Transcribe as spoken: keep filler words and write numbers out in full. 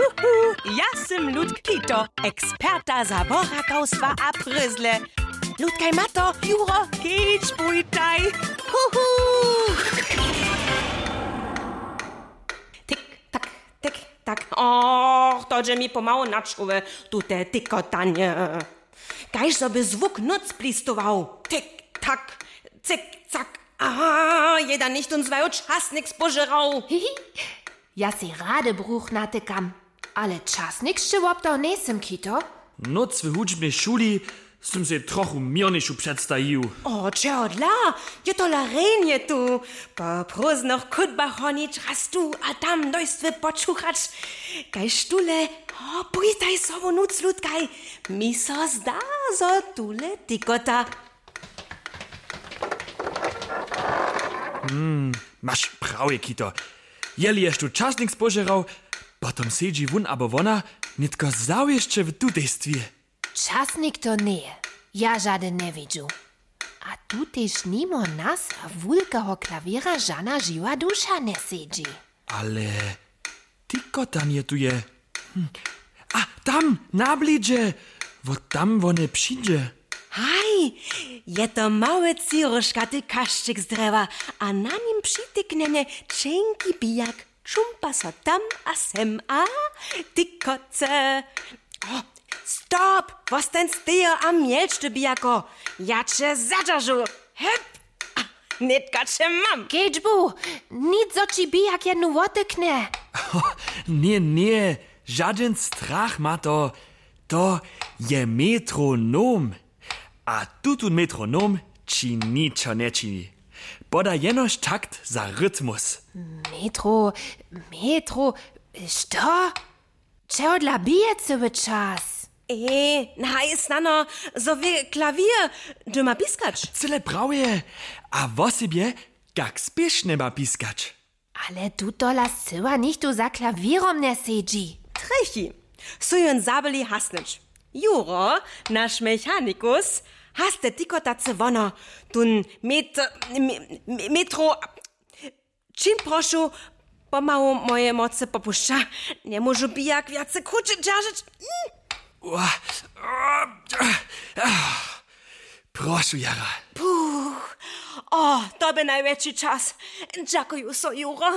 Huhu, ja sym Ludk Kito, eksperta za worakawstwa a prězle. Ludkaj ma to, Juro, kedź bójtaj. Huhu. Tik, tak, tik, tak. Och, to dźe mi pomału na čoły, tute tikotanje. Kaž zo by zwuk nóc plistował. Tik, tak, cik, cak. Aha, je da něchtón z waju časnik spožerał. Hihi, ja sej rady bruch natykam. Ale časnik sće woptał njejsym, Kito. Nóc w hudźbnej šuli sym sej trochu měrnišu předstajił. O, čehodla? Je tola rjenje tu. Po prózdnych chódbach honić, raz tu a tam dojstwy počuchać. Kaž tule, o, pójtaj sobu nóc, Ludkaj. Mi so zda, zo tule tikota. Maš prawje, Kito. Jeli ješ tu časnik spožerał, potom sedźi wón abo wona nětko zawěsće w tutejstwje. Časnik to njeje, ja žadyn njewidźu. A tu tež nimo nas a wulkeho klawěra žana žiwa duša njesedźi. Ale tikotanje tu je. Hm. A tam, na blidźe, wot tam wone přińdźe. Haj, je to mały třiróžkaty kašćik z drjewa a na nim přitiknjene ćenki bijak, čumpa so tam a sem a tikoce. O, stop, wostań stejo a mjelč ty, bijako. Ja će zadźeržu. Hep! A, nětka će mam. Kedźbu, nic, zo ći bijak jednu wotyknje. Ně, ně, žadyn strach ma to. To je metronom. A tutón metronom ći ničo nječini. Poda jenož takt za rytmus. Metro, metro, što? Čehodla bije cyły čas? Ej, haj, snano, zo wě klawěr doma piskać. Cyle prawje. A wosebje, kak spěšnje ma piskać. Ale tu tola scyła nichtó za klawěrom njesedźi. Trjechi, su jón zabyli hasnyć. Juro, naš mechanikus, has te tikotace wono, tón met-, me-, me-, metro, čim prošu, pomału moje mocy popušća. Njemóžu bijak wjace kruće dźeržeć. Mm. Ua, ua, ah, prošu jara. Puch, o, to bě najwjetši čas. Dźakuju so, Juro.